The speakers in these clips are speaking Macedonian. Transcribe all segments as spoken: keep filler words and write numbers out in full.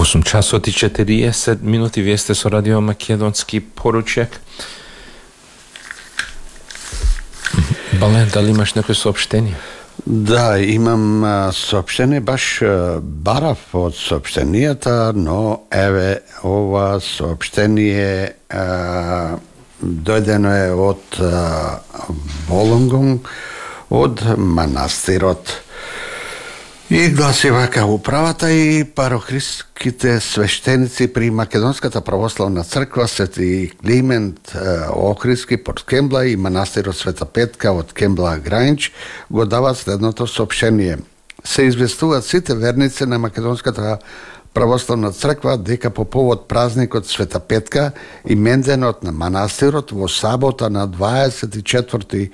осум часот и четириесет минути, вие сте со Радио Македонски поручек. Бален, дали имаш некој соопштение? Да, имам а, соопштение, баш а, барав од соопштенијата, но еве ова соопштение а, дојдено е од а, Волонгонг, од манастирот. И гласи вака: управата и парохристските свештеници при Македонската православна црква Свети Климент Охридски под Кембла и манастирот Света Петка од Кембла Граинч го дават следното соопштение. Се известуваат сите верници на Македонската православна црква дека по повод празникот Света Петка и менденот на манастирот во сабота на дваесет и четврти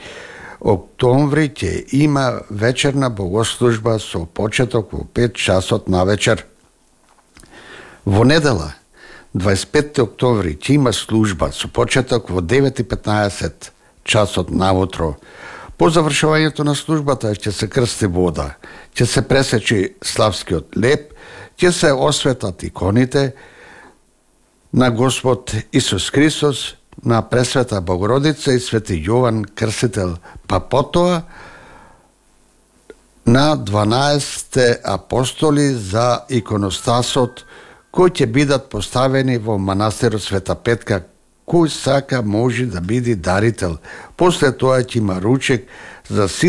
октомври ќе има вечерна богослужба со почеток во пет часот навечер. Во недела, дваесет и петти октомври, ќе има служба со почеток во девет и петнаесет часот наутро. По завршувањето на службата ќе се крсти вода, ќе се пресечи славскиот леп, ќе се осветат иконите на Господ Исус Христос, на Пресвета Богородица и Свети Јован Крстител, па потоа на дванаесетте апостоли за иконостасот кои ќе бидат поставени во манастирот Света Петка. Кој сака може да биде дарител. После тоа ќе има ручек за сите